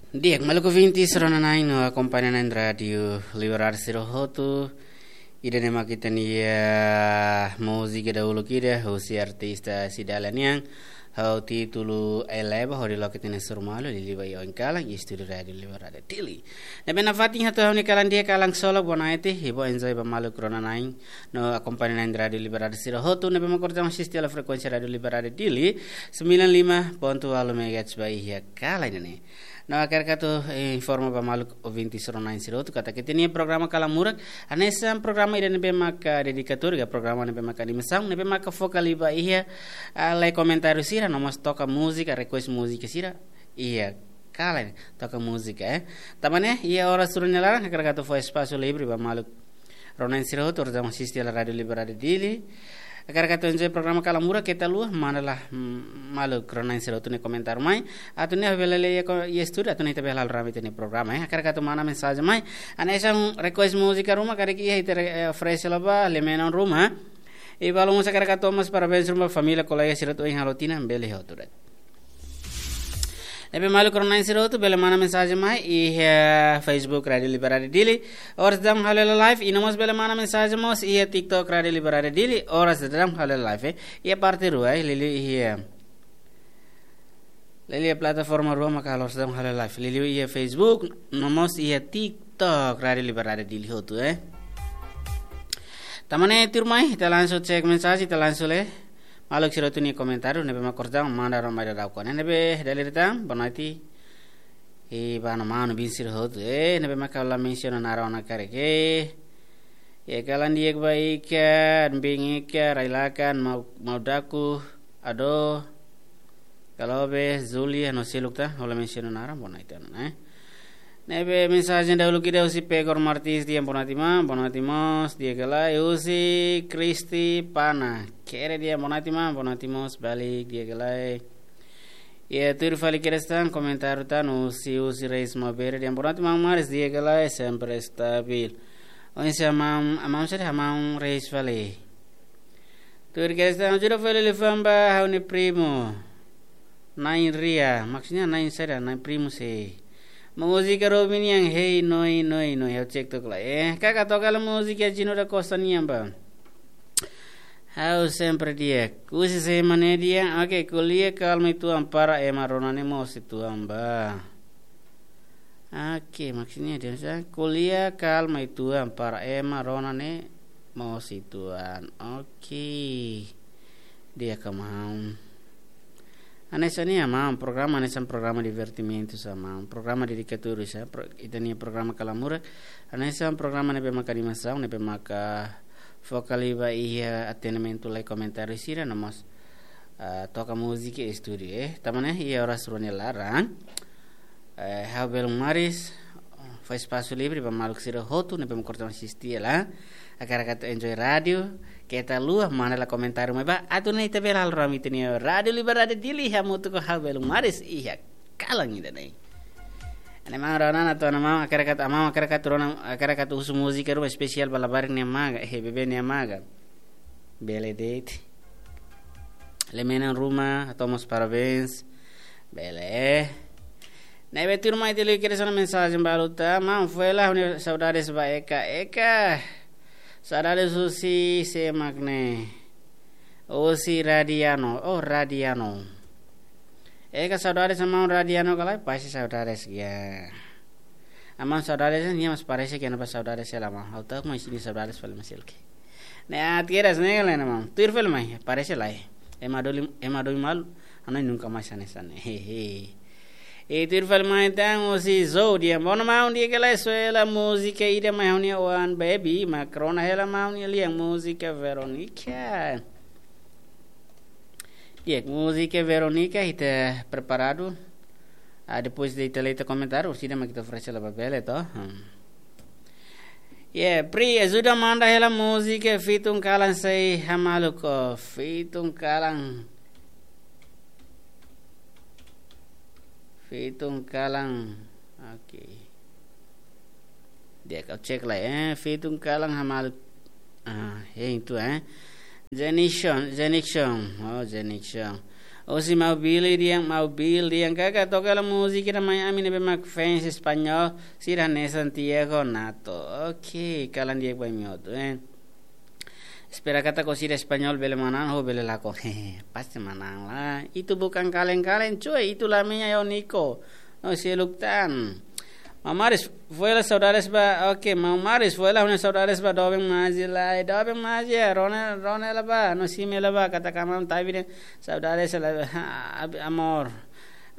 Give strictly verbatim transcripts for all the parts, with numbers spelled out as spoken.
Di'ak, maluk ouvintes rona-na'in no akompaña na'in Rádiu Liberdade sira hotu. Ida-ne'e mak ita-nia múzika dahuluk ida, husi artista Cidalia nian, ho títulu Eleva, hodi loke ita-nia Surmalu, liuliu ba iha oin kalan, iha estúdiu Rádiu Liberdade Dili. Ne'ebé nafatin hato'o ha'u-nia kalan di'ak, kalan solok, boa noite, i bá enjoy ba maluk rona-na'in no akompaña na'in Rádiu Liberdade sira hotu, ne'ebé mak oras dadaun asiste hela frekuénsia Rádiu Liberdade Dili, sembilan lima ponto walu megahertz ba iha kalan ida-ne'e. No hakarak atu, eh, informa ba maluk ouvintes rona-na'in sira hotu katak ita-nia programa Kalan Murak, hanesan programa ida ne'ebé maka dedikatóriu, programa ne'ebé maka animasaun, ne'ebé maka foka liu ba iha, ah, lee komentáriu sira, no mós toka múzika, request múzika sira, iha kalan, toka múzika, eh. Tanba ne'e, iha oras rua nia laran, hakarak atu fó espasu livre ba maluk rona-na'in sira hotu, oras dadaun asiste hela Rádiu Liberdade Dili. Hakarak atu enjoy programa Kalan Murak, keta haluha, manda lai, mm, maluk rona-na'in sira hotu nia komentáriu mai. Atu nune'e ha'u bele lee iha ko-, iha estúdiu, atu nune'e ita bele halo rame ita-nia programa, eh. Hakarak atu manda mensajen mai. Hanesan request múzika ruma, karik iha ita re-, eh, oferese hela ba, lee menon ruma. I balu mós hakarak atu hato'o mós parabéns ruma ba família, kolega sira hotu ohin halo tinan, bele hotu de'it. Ne'ebé maluk rona-na'in sira hotu bele manda mensajen mai iha, eh, Facebook Rádiu Liberdade Dili. Oras dadaun halo hela live, i no mós bele manda mensajen mós iha TikTok Rádiu Liberdade Dili. Oras dadaun halo hela live, eh. Iha parte rua, eh, liuliu iha, liuliu iha plataforma rua maka oras dadaun halo hela live. Liuliu iha Facebook, no mós iha TikTok Rádiu Liberdade Dili hotu, eh. Tanba ne'e tuirmai, ita langsung cek mensajen, ita langsung lee maluk sira hotu nia komentáriu, ne'ebé mak oras dadaun manda rona mai daudaun ona. Ne'ebé dala ida tan, boa noite. I ba maun-alin sira hotu, eh, ne'ebé maka la mensiona naran ona karik, eh. Iha kalan di'ak ba ika, Bin ika, Railakan, Mau-, Maudaku, Ado, Kalobe, Zulia, no seluk tan, ha'u la mensiona naran, boa noite ona, eh. Ne'ebé mensajen dahuluk ida husi Pegor Martins, dehan boa noite maun, boa noite mós, di'ak ka lae, husi Kristi Pana, kere dehan boa noite maun, boa noite mós, balik, di'ak ka lae. Iha tuir fali kedas tan, komentáriu tan, husi, husi Reis Mabere, dehan boa noite maun Maris, di'ak ka lae, sempre estabil. Oinsá maun, maun sira, maun Reis fali. Tuir kedas tan, ajuda fali liafuan ba ha'u-nia primu. Na'in Ria, maksudnya na'in sira, na'in primu se. Múzika Robin nian, Hey Noi Noi Noi, ha'u cek took lai, eh. Kaka toka hela múzika Gino da Costa nian ba. Ha'u sempre di'ak. Husi sé mak ne'e dehan, oke, ko'alia kalma uitoan para ema rona ne'e moos uitoan ba. Oke, maksudnya dehan sá, ko'alia kalma uitoan para ema rona ne'e moos uitoan. Oke. Di'ak ka maun. Hanesan ne'e maun, programa hanesan programa divertimentu sá maun. Programa dedikatóriu sá, pro-, ita-nia programa Kalan Murak. Hanesan programa ne'ebé maka animasaun, ne'ebé maka foka liu ba iha atendimentu lee komentáriu sira, no mós, ah, toka múzika iha estúdiu, eh. Tanba ne'e, iha oras rua nia laran, eh, ha'u belun Maris fó espasu livre ba maluk sira hotu ne'ebé mak oras dadaun asiste hela. Hakarak atu enjoy rádiu, keta haluha, manda lai komentáriu mai ba, atu nune'e ita bele halo rame ita-nia Rádiu Liberdade Dili, hamutuk ho ha'u belun Maris iha kalan ida-ne'e. Ne'e maun rona-na'in atu, maun hakarak atu, maun hakarak atu rona, hakarak atu husu múzika ruma espesiál ba labarik nia maga, eh, bebé nia maga. Bele de'it. Lee menon ruma, hato'o mós parabéns. Bele. Ne'ebé tuirmai ita liu kedas ona mensajen balu tan, maun fó hela ha'u-nia saudades ba Eka, Eka. Saudades husi sé mak ne'e. Husi Radiano, oh Radiano. Eka saudades maun Radiano ka lae, pasti saudades ya. Maun saudades, nia mós parese ke nia ba saudades hela maun. Ha'u ta'uk maun sente saudades fali maun seluk. Ne'e atu kedas ne'e ka lae maun. Tuir fali mai, parese lae. Ema domin, ema domin malu, hanoin nunka mais hanesan ne'e. Hehe. I tuir fali mai tan husi Zou dehan, boa noite maun, di'ak ka lae, soe hela múzika ida mai ha'u-nia oan baby, mak rona hela maun nia lian múzika Veronica. Di'ak, múzika Veronica, ita preparadu. Ah, depois de ita lee ita komentáriu, orsida mak ita oferese hela ba bele, to? Hmm. Yeah, Pri, ajuda manda hela múzika Fitun Kalan sei hamaluk, oh, Fitun Kalan. Fitun Kalan. Oke. Di'ak, ha'u cek lai, eh, Fitun Kalan hamaluk. Ah, hein tu, eh. Zenixon, Zenixon. Oh, Zenixon. Husi Maubili dehan, Maubil dehan, kaka toka hela múzika ida mai ami ne'ebé mak fans espanhol sira hanesan Tiago Nato. Ok, kalan di'ak ba imi hotu, eh. Espera katak sira espanhol bele manán, ho bele lakon. Pasti manán lah. Itu bukan kaleng-kaleng, cuy. Itu lamanya yo Niko. No seluk tan. Mamaris, foila saudades ba. Ok, Mamaris, foila huna saudades ba. Doben maji lai. Doben maji, Ronel, Ronel ba. No sime la ba. Katak amam tabi de. Saudades la. Ha, ab-, amor.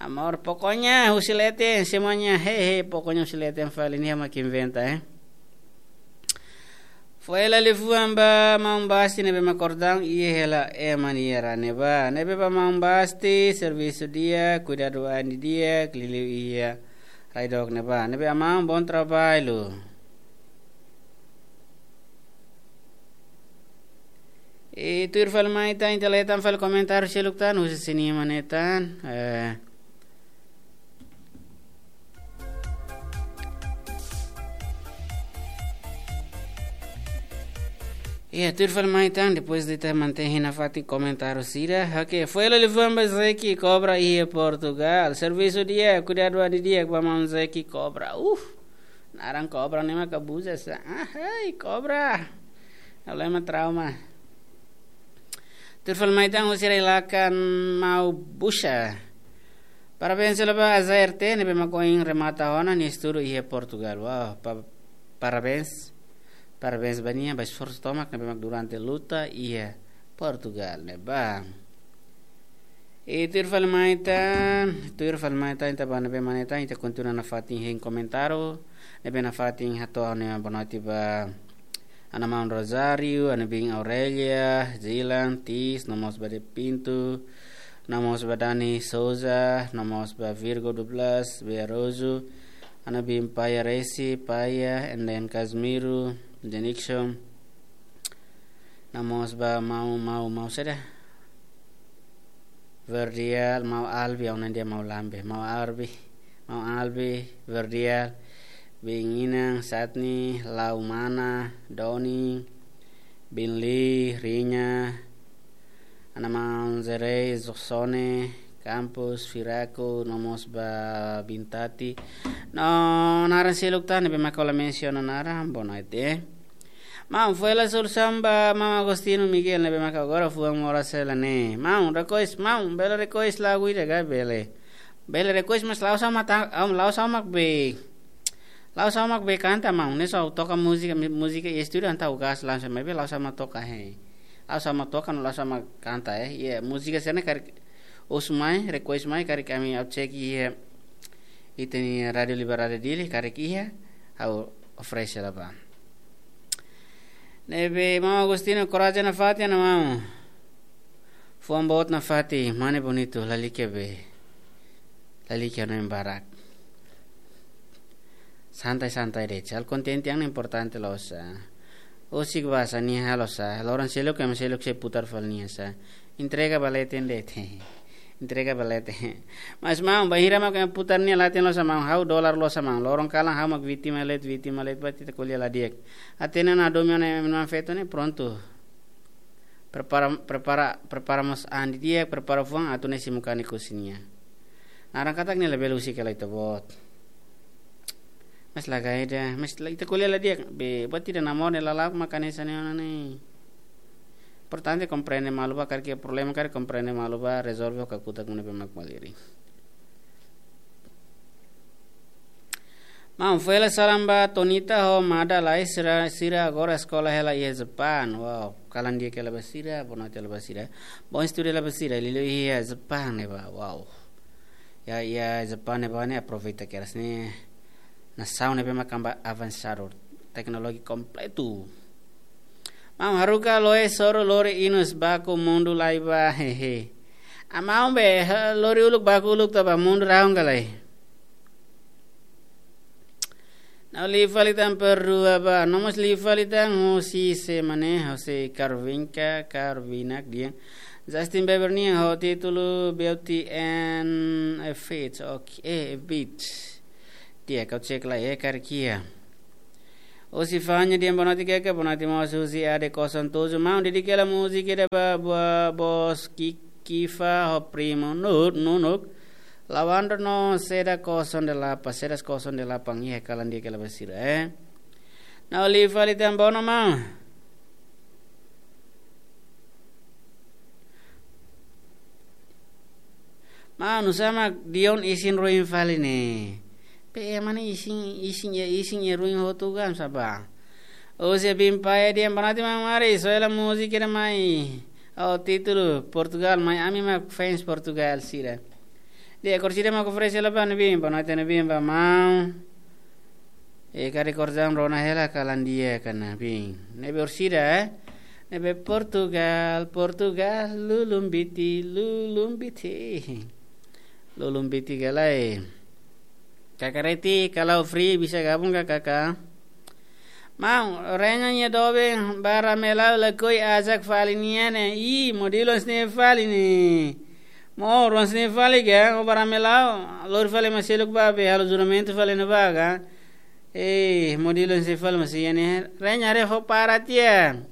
Amor, pokoknya husi leten semuanya. He, he, pokoknya husi leten fali ne'e mak inventa, eh. Foila liafuan ba maun Basti ne'ebé mak kordang iha hela ema nia rai ne'ebá. Ne'ebé ba maun Basti, servisu di'ak, kuidadu ain di'ak, liuliu iha rai dook ne'ebá. Ne'ebé amam, bom trabalho. I tuir fali mai tan, ita leten fali komentáriu seluk tan, husi sini mane tan. Eh, Iya, tuir fali mai tan, depois de ita mantein nafatin komentáriu sira. Ok, foila liafuan ba Zeki Cobra iha Portugal. Servisu di'ak, kuidadu ain di'ak ba maun Zeki Cobra. Uh, naran Cobra ne'e mak abuza sa. Ah, hai, Cobra. Problema trauma. Tuir fali mai tan husi rai lakan Maubusha. Parabéns hela ba Azaerte ne'ebé mak ohin remata ona nia estudu iha Portugal. Wow, pa-, parabéns. Parabéns ba nia, ba esforsu tomak ne'ebé mak durante luta iha Portugal ne'ebá. I tuir fali mai tan, tuir fali mai tan, ita ba ne'ebé mane tan, ita kontinua nafatin hein komentáriu, ne'ebé nafatin hato'o ha'u-nia boa noite ba Ana Maun Rosário, Ana Bin Aurélia, Zilan, Tis, no mós ba De Pinto, no mós ba Dani Souza, no mós ba Virgo Douglas, Bea Rojo, Ana Bin Paia Resi, Paia, and then Casimiro, Denixon, no mós ba Mau, Mau, Mau saida? Verdial, Mau Albi, ha'u-nia dehan Mau Lambe, Mau Albi, Mau Albi, Verdial, Bin Inang, Satni, Laumana, Doni, Bin Li, Rinya, Ana Maun Zerei, Zuxone, Campos, Firaco, no mós ba Bin Tati. No naran seluk tan, ne'ebé mak ha'u la mensiona naran, boa noite. Maun, foila solusaun ba maun Agostinho Miguel ne'ebé mak agora fuan moras hela ne'e. Maun, request, maun, bele request lagu ida ka bele. Bele request mas la'ós ha'u mak ta-, am, la'ós ha'u mak be. La'ós ha'u mak be kanta maun, ne'e só toka múzika, mi-, múzika iha estúdiu entaun gas langsung maibé la'ós ha'u mak toka he. La'ós ha'u mak toka no la'ós ha'u mak kanta eh. Iya, múzika sira-ne'e karik husu mai, request mai, karik ami ha'u cek iha ita-nia Rádio Liberdade Dili, karik iha, ha'u oferese hela ba. Ne'ebé maun Agostinho, korajen nafatin, Ana Maun. Fuan boot nafatin, mane bonitu, lalika be. Lalika no embarak. Santai-santai de'it, ha'u kontente, yang importante loos sa. Husik ba sa nia halo sa, loron seluk ema seluk sei putar fali nia sa. Entrega ba leten de'it. Entrega ba leten. Mas maun, bainhira mak ema putar nia leten loos sa maun, ha'u dolar loos sa maun. Loron kalan ha'u mak vítima de'it, vítima de'it, buat ita ko'alia la di'ak. Hatene ona domin ona ema feto ne'e prontu. Prepara, prepara, prepara mós an di'ak, prepara fuan atu ne'e simu kanek husi nia. Naran katak nia labele husik hela ita-boot. Mas la gaida, mas la, ita ko'alia la di'ak, be, buat ida namor ne'e lala'ok mak hanesan ne'e ona ne'e. Importante komprende malu ba, karik iha problema karik komprende malu ba, rezolve ho kakutak ne'ebé mak malirin. Maun, foila salam ba Tonita ho Mada lai sira, sira agora eskola hela iha Japan. Wow, kalan di'ak hela ba sira, boa noite hela ba sira. Bom estudu hela ba sira, liuliu iha Japan ne'ebá. Wow. Ya, iha Japan ne'ebá ne'e aproveita kedas ne'e. Nasaun ne'ebé mak avansa, teknolojia kompletu. Maun, haruka loe soru lori inus baku mundu lai ba, hehe. Amaun be, ha, lori uluk baku uluk to'o ba mundu rahun ka lae. Ha'u liu fali tan perdua ba, no mós liu fali tan husi sé mane, husi Carvinka, Carvinak dehan. Justin Bieber nian ho títulu Beauty and a Fit, ok, eh, a Bit. Di'ak, ha'u cek lai, eh, karik iha. Husi Fanya dehan boa noite keke, boa noite mós husi A D kosong tujuh. Maun, dedika hela múzika ida ba, ba bos Kiki. Kifa ho primu Nur, Nunuk, Lawando no Seda Koson de Lapa, Sedas Koson de Lapa, iha kalan di'ak hela ba sira, eh. Ha'u liu fali tan bono maun. Maun, nusá mak Dion isin ruin fali ne'e. Pe ema ne'e isin, isin iha, isin iha ruin hotu kan sá ba. Husi Bimpae Dian, boa noite maun Mari, soe hela múzika ida mai. Oh, títulu Portugal, mai ami mak fans Portugal sira. Di'ak, orsida mak oferese hela ba ne'ebé, boa noite ne'ebé ba maun. E karik orsida rona hela kalan di'ak ka ne'ebé. Ne'ebé orsida, eh? Ne'ebé Portugal, Portugal, lulun biti, lulun biti. Lulun biti ka lae. Kakareti, kalau free bisa gabung ka kaka? Maun, Renya nia doben ba Ramelau lakohi ajak fali nia ne'e. Ih, modelu hanesan ne'e fali ne'e. Maun, hanesan ne'e fali ka, o ba Ramelau, lori fali ema seluk ba be halo juramentu fali ne'ebá ka. Eh, modelu hanesan ne'e fali mós iha ne'e. Renya haree ho para tiha.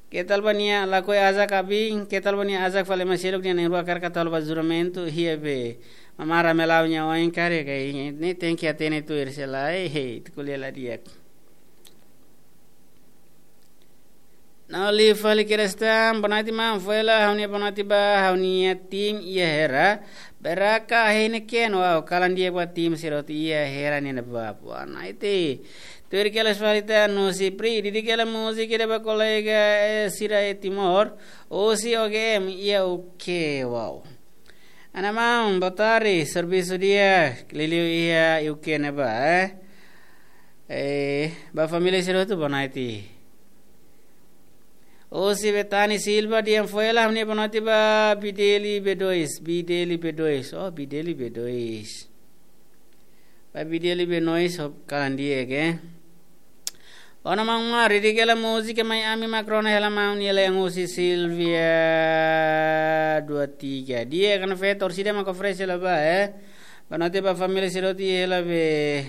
Keta haluha ba nia lakohi ajak abin, keta haluha ba nia ajak fali ema seluk nia na'in-rua karik atu halo ba juramentu, iha be. Maun Ramelau nia oin karik, eh, ne'e tenke hatene tuir sira lae, eh, ita ko'alia la di'ak. Ha'u liu fali kedas tan, boa noite maun, foin hela ha'u-nia boa noite ba ha'u-nia tim iha Hera. Beraka hene ken, wow, kalan di'ak ba tim sira hotu iha Hera ne'ebá. Boa noite. Tuir kedas fali tan, no si pri, didik hela múzika ida ba kolega, eh, sira iha Timor, husi O G M iha U K, wow. Ana maun, boa tarde, servisu di'ak, liuliu iha U K ne'ebá, eh. Eh, ba família sira hotu boa noite. Husi Betani Silva, Dian, foin hela ha'u-nia boa noite ba Bideli B dois, Bideli B dois, oh, Bideli B dois. Ba Bideli B dois, ho kalan di'ak, eh. Ona maun Mari, didik hela múzika mai ami mak rona hela maun, nia la'en husi Silvia dua tiga. Di'ak, kana feto, orsida mak oferese hela ba, eh. Boa noite ba família sira hotu iha hela be.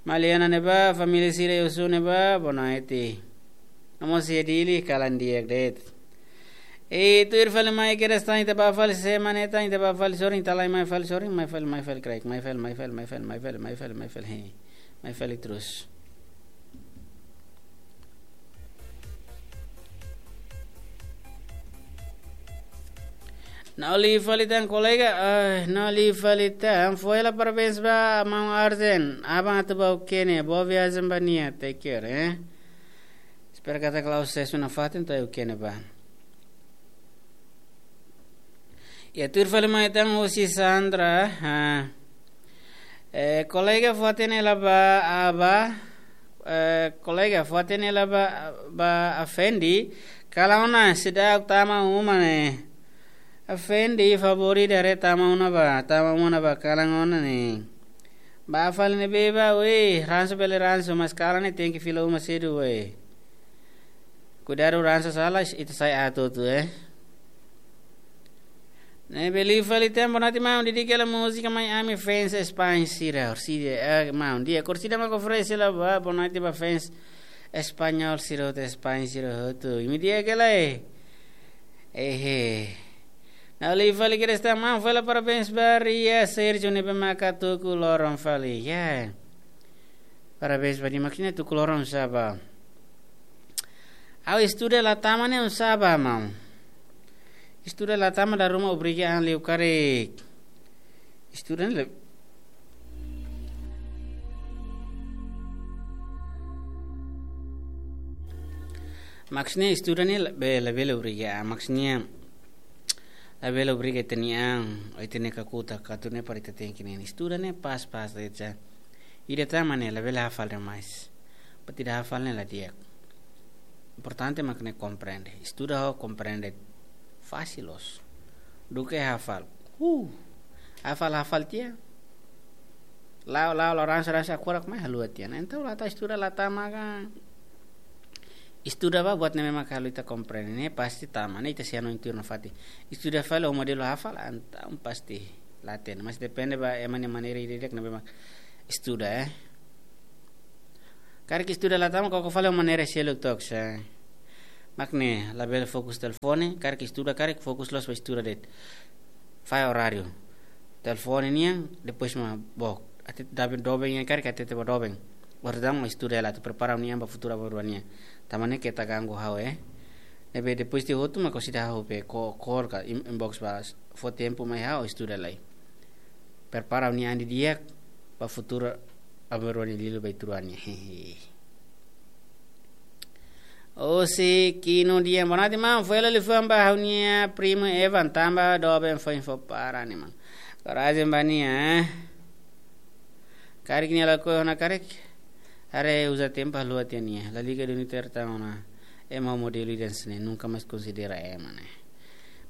Maliana ne'ebá, família sira iha Osu ne'ebá, boa noite. Nomós iha Dili, kalan di'ak de'it. E tuir fali mai kedas tan, ita bá fali semana ita, ita bá fali sorin, ita la'e mai fali sorin, mai fali, mai fali crack, mai fali, mai fali, mai fali, mai fali, mai fali, mai fali, he. Mai fali terus. Ha'u liu fali tan kolega, eh, ha'u liu fali tan, foin hela parabéns ba maun Arjen, aban atu bá U K ne'e, boa viajen ba nia, take care, eh. Espera katak la'o sesu nafatin to'o U K ne'ebá. Iha tuir fali mai tan husi Sandra, ha. Eh, kolega fó-hatene hela ba, ah, ba, eh, kolega fó-hatene hela ba, ba Afendi, kalan ona seidauk tama uma ne'e. Afendi, favór ida haree tama ona ba, tama uma ne'ebá kalan ona ne'e. Ba fali ne'ebé ba, weh, ransu bele ransu, mas kalan ne'e tenke fila uma sedu, weh. Kuidadu ransu sala, ita sai aat hotu, eh. Ne'ebé liu fali tan, boa noite maun, didik hela múzika mai ami fans España sira, orsida, eh, maun, di'ak, orsida mak oferese hela ba, boa noite ba fans Espanhol sira hotu, España sira hotu. Imi di'ak ka lae? Ehe. Ha'u liu fali kedas tan maun, foin hela parabéns ba Ria Sergio ne'ebé maka tuku loron fali. Ya. Parabéns ba nia, maksudnya tuku loron sá ba. Ha'u estuda la tama ne'e oinsá ba maun. Estuda la tama dala ruma obriga an liu karik. Estuda ne'e la, maksudnya estuda ne'e la be-, labele obriga an, maksudnya labele obriga ita-nia an, ita-nia kakutak, atu ne'e para ita tenke ne'e. Estuda ne'e pas-pas de'it sá. Ida tama ne'e labele hafal demais. Buat ida hafal ne'e la di'ak. Importante mak ne'e komprende. Estuda ho komprende. Fasil loos. Duké hafal. Huh. Hafal, hafal tiha. La'o, la'o, la'o ransu, ransu, agora mai haluha tiha. Entaun la tau estuda la tama ka. Estuda ba buat ne'ebé mak halo ita komprende ne'e pasti tama, ne'e ita sei hanoin tuir nafatin. Estuda fali ho modelu hafal, entaun pasti la hatene. Mas depende ba ema nia maneira ida-idak ne'ebé mak estuda, eh. Karik estuda la tama, koko fali ho maneira seluk took sá. Mak ne'e, labele fokus telefone, karik estuda, karik fokus loos ba estuda de'it. Fahe oráriu. Telefone nian, depois mak book. Hatete doben, doben nian karik hatete ba doben. Entaun mak estuda hela atu prepara ha'u-nia an ba futuru aban-bainrua nian. Tanba ne'e keta ganggu ha'u, eh. Ne'ebé depois tiha hotu mak konside ha'u pe ko-, call ka in-, inbox ba fó tempu mai ha'u estuda lai. Prepara ha'u-nia an didi'ak ba futuru aban-bainrua nia liuliu ba ituan nian. Hehe. Osi Kino Dian, boa noite, maun. Foin hela liafuan ba ha'u-nia primu Evan, tanba doben foin fó para nia, maun. Korajen ba nia, eh. Karik nia lakohi ona karik, haree uza tempu haluha tiha nia. La liga duni terta ona. Ema modelu ida hanesan ne'e, nunka mais konsidera ema ne'e.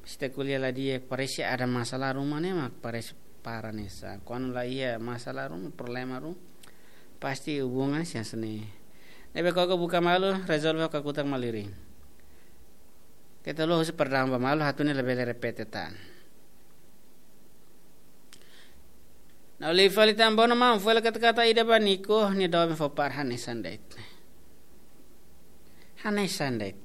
Sita kuliah la di'ak, parese ada masalah ruma ne'e mak parese para hanesan. Kuandu la iha masalah ruma, problema ruma, pasti hubungan sei hanesan ne'e. Ne'ebé koko buka malu, rezolve ho kakutak malirin. Keta haluha husu perdaun ba malu, atu nune'e labele repete tan. Nau li fali tan bono maun, foin hela kata-kata ida ba Niko, nia doben fó para hanesan de'it. Hanesan de'it.